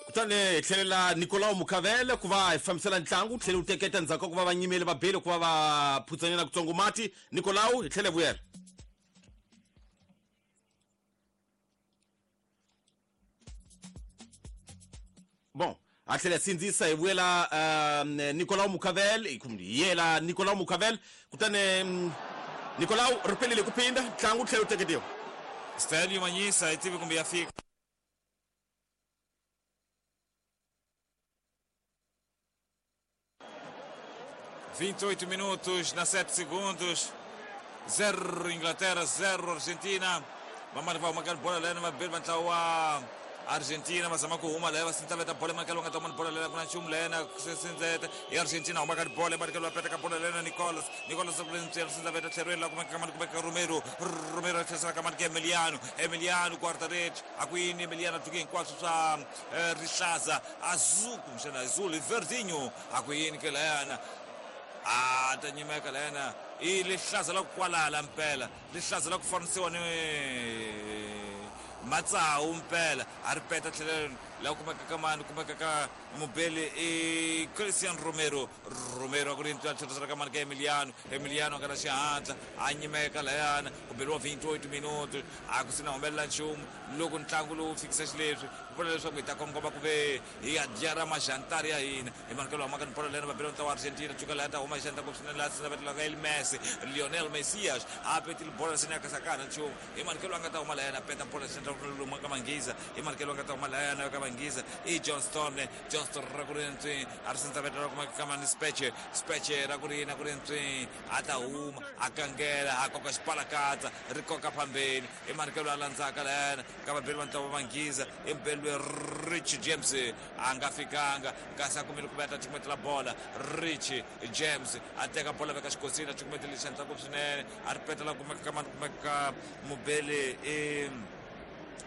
Kutani hi tlhelela Nicolau Mukavele ku va hi fambisela ntlangu wu tlhele wu teketa endzhaku ka ku va va nyimele va bele ku va va phutsanyana kutsongo mati. Nicolau, hi tlhele vuyela. Bon, a tlhela sindzisa hi vuyela Nicolau Mukavel, hi yela Nicolau Mukavel. Kutani Nicolau ri pelile ku phinda ntlangu wu tlhela wu teketiwa. Stelio Manyisa hi tivi kumbe ya fika. 28 minutos na 7 segundos. 0 Inglaterra, 0 Argentina. Vamani va huma ka bola lena va beli va ntlawa wa Argentina va zama ku huma laya va sindzaveta bola emakelo nga ta huma bola lena ku na nchumu lena sindzeta i Argentina huma ka bola emakelo va peta ka bola lena Nicolas Nicolas ku ri sindzaveta tlherweni la kumeka kamani kumeka Romero Romero tlherisela kamani ka Emiliano Emiliano guarda-redes a ku yini Emiliano a tluke hinkwaswo swa rihlaza azul kumbexana azul i verdinho a ku yini ke layana a ta nyimeka layana i rihlaza la ku kwalala mpela rihlaza la ku fanisiwa ni matsawu mpela a ri peta tlhelo la kumeka ka mani kumeka ka mubeli i Christian Romero Romero a ku ri ntwa tlherisela ka mani ka Emiliano Emiliano a nga na xihatla a nyimeka layana ku beriwa 28 minuto a ku sina humelela nchumu loko ntlangu lowu fikisa xileswi ku vula leswaku hi ta kongoma ku ve hi ya dya ra majantari ya hina hi manikelo wa maka ni bolo lena va bela ntlawa wa Argentina cuka laha ta huma hi xandla ngopfu swinene laha sina va ka El Messi Lionel Messias a petile bolo sina ya kasakana nchumu hi manikelo a nga ta huma layana peta bolo xandla lomu ka Manghiza hi manikelo a nga ta huma layana ka Manghiza i Johnston Johnston ra ku ri ntswi a ri sindza veta ra kuma ka mani Speche Speche ra ku ri yini a ku ri ntswi a ta huma a kangela a koka xipalakatsa ri koka phambeni i manikelo a landzaka layana ka vabeli va ntlawa va Manghiza i mubeli Rich James a nga fikanga kasi a kumile ku va ta cukumetela bola Rich James a teka bola veka xikosini a cukumetele xandla ngopfu swinene a ri petela kumeka ka mani kumeka ka mubeli i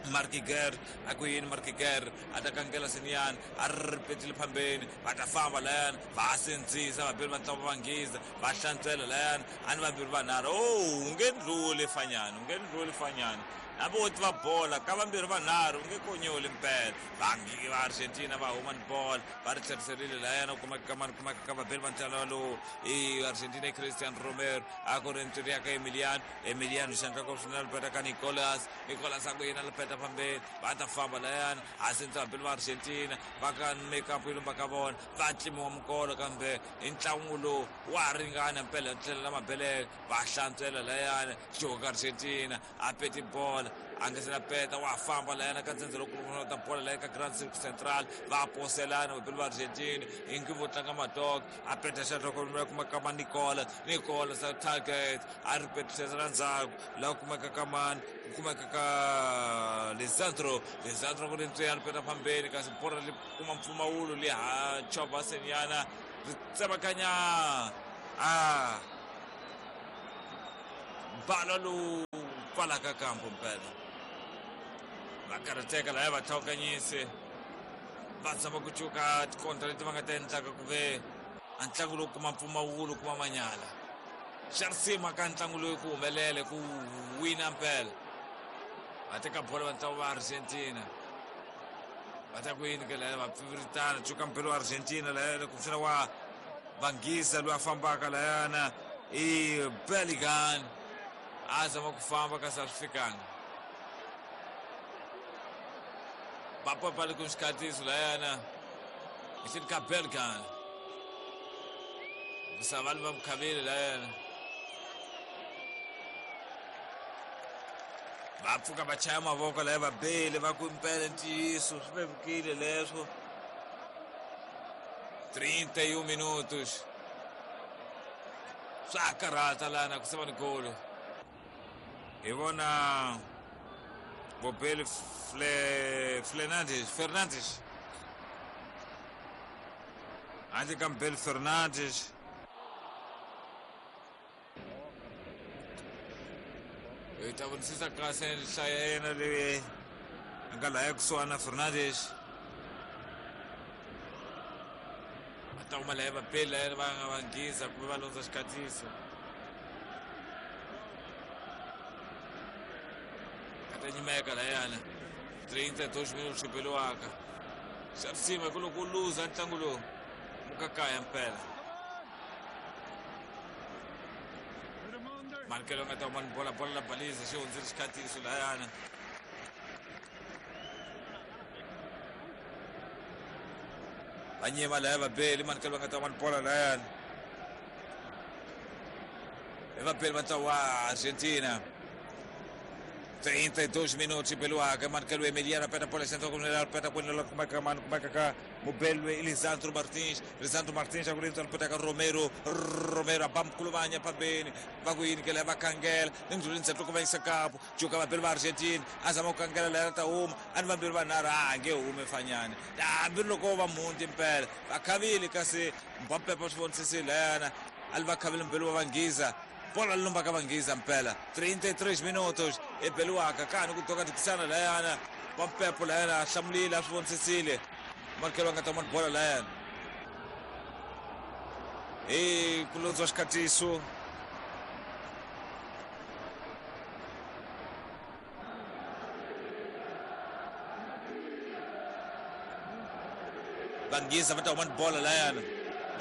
Markiger a ku yini Markiger a ta kangela siniyani a ri petile phambeni va ta famba layani va sindzisa vabeli va ntlawa va Manghiza va hlantswela layani a ni vambirhi vanharhu o u nge ndluli fanyani u nge ndluli fanyani hambi wo tiva bola ka vambirhi vanharhu u nge konyoli mpela vangi va Argentina va huma ni bola va ri tlheriserile layani u kumeka ka mani kumeka ka vabeli va ntlawa lowu i Argentina i Christian Romero a ku ri ntswiri ya ka Emiliano Emiliano xandla ko swinene peta ka Nicolas Nicolas a ku yena lipeta phambeni va ta famba layani a sindza vabeli va Argentina va ka makeup yi lumba ka vona va tlimiwa mikolo kambe hi ntlangu lowu wa ringana mpela tlhelo la mabelele va hlantswela layani xo ka Argentina a peti bola a nga se na peta wa famba layana ka ntsendze loko ta bola laya ka Grand Cirque Central va poselana vabeli va Argentina ingi vo tlanga madog a peta xandla ko kuma ka ma Nicola Nicola sa target a ri petisela ndzhaku laha kumeka ka mani ku kumeka ka Lisandro Lisandro ku ri ntswiya ri peta phambeni kasi bola ri kuma mpfumawulo li ha chovha senyana ri tsemakanya a bala lowu pfalaka kampo mpela va karhateka laya va tlhawukanyise va tshama ku cuka tikontra leti va nga ta endlaka ku ve a ntlangu lowu kuma mpfumawulo kuma manyala xa risima ka ntlangu lowu ku humelele ku wina mpela va teka bolo va ntlangu va Argentina va ta ku yini ke laya va pfiviritana cuka mpela wa Argentina laya kumbexana wa Vanghiza loyi a fambaka layana i Bellingham a zama ku famba kasi a swi fikanga va papale ku xikhatiso layana hi ka Bellingham misava va mukhavile layana va pfuka va chaya mavoko laya va bele va ku impela ntiyiso swi vevukile leswo 31 minutos swa karhata lana ku sava ni golo hi vona Bobel Fernandes Fernandes handle ka Mbel Fernandes hi ta vonisisa kahle nhlayo ya yena leyi a nga laya kusuhana Fernandes va ta huma laya vapeli laya va nga vanghiza kumbe va londza xikatiso a ta nyimeka layana 32 minutos xi beliwaka. Xa risima hi ku loko u luza ntlangu lowu mukakaya mpela. Manikelo nga ta huma ni bola, bola la baliza xi hundzile xikhatiso layana. Va nyima laya vabeli, manikelo va nga ta huma ni bola layana. I vabeli va ntlawa wa Argentina. 32 minutos beliwaka manikelo Emiliano peta bola centro kunela peta kunela kumeka mani kumeka ka mubelwe Lisandro Martins. Lisandro Martins akulinza peta ka Romero. Romero abamkulumanya phambeni va ku yini ke la va khangela nindlulini ku va yisa kapu juka vabeli va Argentina azama ku khangela la ta huma ani vambirhi vanharhu a nge hume fanyana hambi loko va mundi mpela va khavile kasi Mbappe va swi vonisisile layana ali va khavile mbeli wa Vanghiza. Bola lumba ka Vanghiza mpela 33 minutos ebeliwaka kani ku toka tikisana layana Mbappe layana hlamulile a swi vonisisile Markelo a nga ta bola layana e ku londziwa xikhatiso. Vanghiza va ta huma ni bola layana.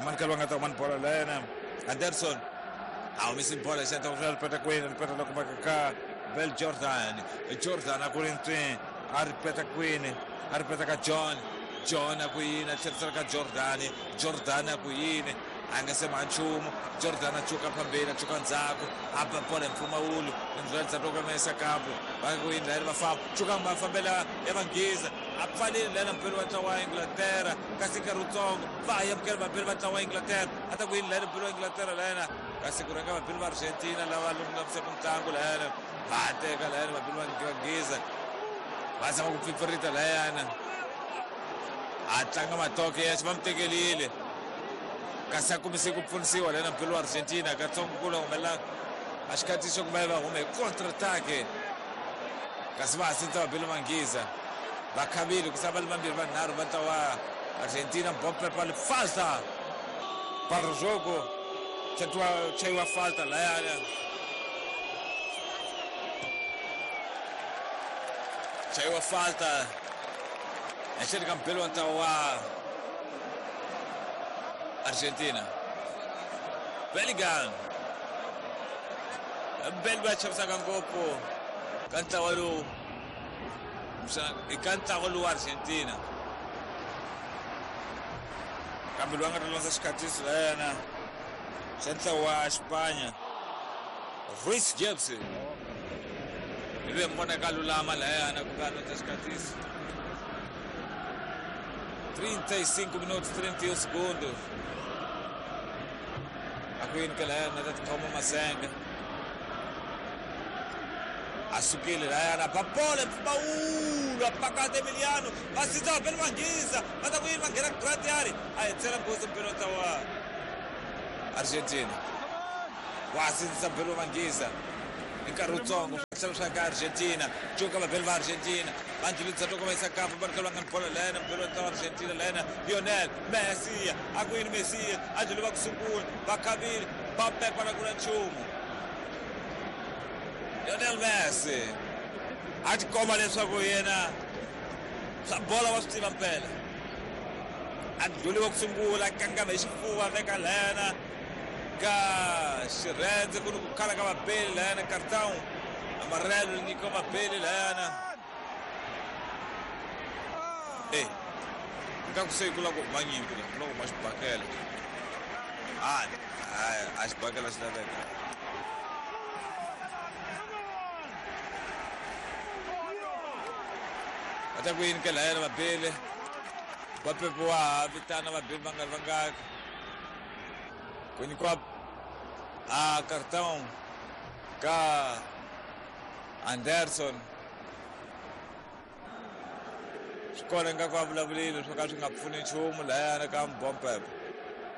Markelo a nga ta huma ni bola layana. Anderson a humisi bola xi endla ku ripeta kwini ripeta la kumeka ka Bel Jordan. Jordan a ku ri ntswi a ripeta kwini a ripeta ka John. John a ku yini a tlherisela ka Jordan. Jordan a ku yini a nga se ma nchumu. Jordan a cuka phambeni a cuka ndzhaku a ba bola hi mpfumawulo ndlela ndzhaku loko va yisa kampo va ku yini layani va famba cuka va fambela ya Vanghiza a pfalile layani mpelo wa ntlawa wa Inglaterra kasi nkarhi wutsongo va ya amukela vapeli va ntlawa wa Inglaterra a ta ku yini layani mpelo wa Inglaterra layana kasi ku rhanga vapeli va Argentina lava lulamisaka ntlangu layana va teka layani vapeli va Vanghiza va zama ku pfipfirita layana a tlanga matoke yexe va mu tekelile kasi a kumise ku pfunisiwa layana mpelo wa Argentina katsongo ku la humelela a xikhatiso ku va va hume contre attaque kasi va hasintsa vapeli Vanghiza va khavile ku sava vambirhi vanharhu va ntlawa Argentina. Mbappe pale falta para o jogo chaiwa falta layana chaiwa falta ehleli ka mpelo wa ntlawa wa Argentina. Bellingham Mbeli va chavisaka ngopfu ka ntlawa lowu ka ntlawa lowu wa Argentina kambe loyi a nga ta landza xikhatiso la yena xa ntlawa wa Xipanya Reece James hi loyi mi vonaka a lulama layana ku va a landza xikhatiso. 35 minutos 31 segundos a ku yini ke layana ta tikhoma masenga a sukile layana ba bola mpfumawulo a pakata Emiliano va sindza vapeli Vanghiza va ta ku yini va nghena gratiari a hetsela nghozi mpelo ta wa Argentina wa sindzisa mpelo wa Vanghiza hi nkarhi wutsongo tlhela swa ka Argentina cuka vapeli va Argentina va ndlulisa loko va yisa kapu va ri va nga ni bola layana mpelo wa Argentina layana Lionel Messi a ku yini Messi a ndlule va ku sungula va khavile va pepa na ku na nchumu. Lionel Messi a tikomba leswaku yena swa bola wa swi tiva mpela a ndlhuliwa ku sungula kangama hi xifuva veka layana ka xirhendze ku ni ku khala ka vabeli layana cartão amarelo nyika vabeli layana e nga ku se ku lava ku huma nyimpi la ku lava ku huma xibakela a xibakela xi laveka. Va ta ku yini ke layana vabeli va pepiwa vitana vabeli va nga ri vangaki ku nyikiwa a cartão ka Anderson swi kona ingaku a vulavulile swo ka swi nga pfuni nchumu layana ka Mbappe.